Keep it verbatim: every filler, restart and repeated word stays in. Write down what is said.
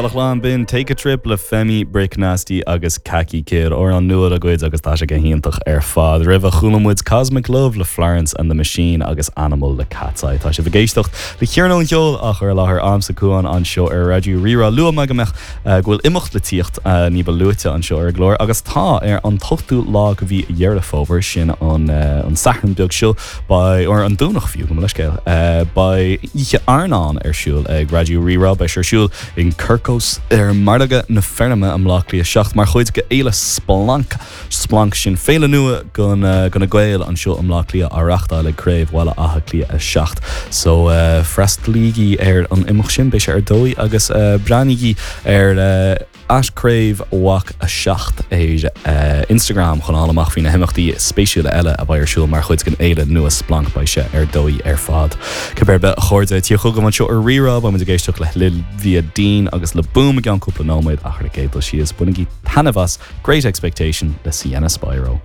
Well a chlann b'in Take a Trip le Femi Brick Nasty agus Kaki Kid amhrán nua dá gcuid agus tá sé go hiontach ar fad. Roimhe chuala muid Cosmic Love le Florence and the Machine agus Animal le Katseye. Tá sibh ag éisteacht le Cearnóg an Cheoil á chur i láthair agamsa Cuan anseo ar Raidió Rí-Rá. Luaigh mé go mbeadh eh, go bhfuil imeacht le tíocht eh, ní ba luaithe anseo ar an gclár agus tá ar an t-ochtú lá de mhí Dheireadh Fómhair sin an eh, an Satharn beag seo beidh ar an Domhnach fiú go leiscéil. Beidh oíche airneáin ar siúl ag Raidió Rí-Rá beidh ar siúl in Quirko's ar Margadh na Feirme i mBleá Cliath seacht mar chuid de fhéile Splanc Splanc sin féile nua do do na Gaeil anseo i mBleá Cliath á reáchtáil ag Craobh Bhaile Átha Cliath a seacht. So uh, freastalaígí ar an imeacht sin beidh sé ar dóigh agus uh, breathnaígí ar uh, at Craobh BhÁC a seacht ar uh, Instagram chun fáil amach faoi na himeachtaí spéisiúla eile a bheidh ar siúl mar chuid den fhéile nua Splanc beidh sé ar dóigh ar fad. Cibé a chairde tí chugam anseo ar Rí-Rá beidh ag éisteacht le Olivia Dean agus le Boom i gceann cúpla nóiméad ach ar an gcéad dul síos bainigí taitneamh as Great Expectation le Sienna Spiro.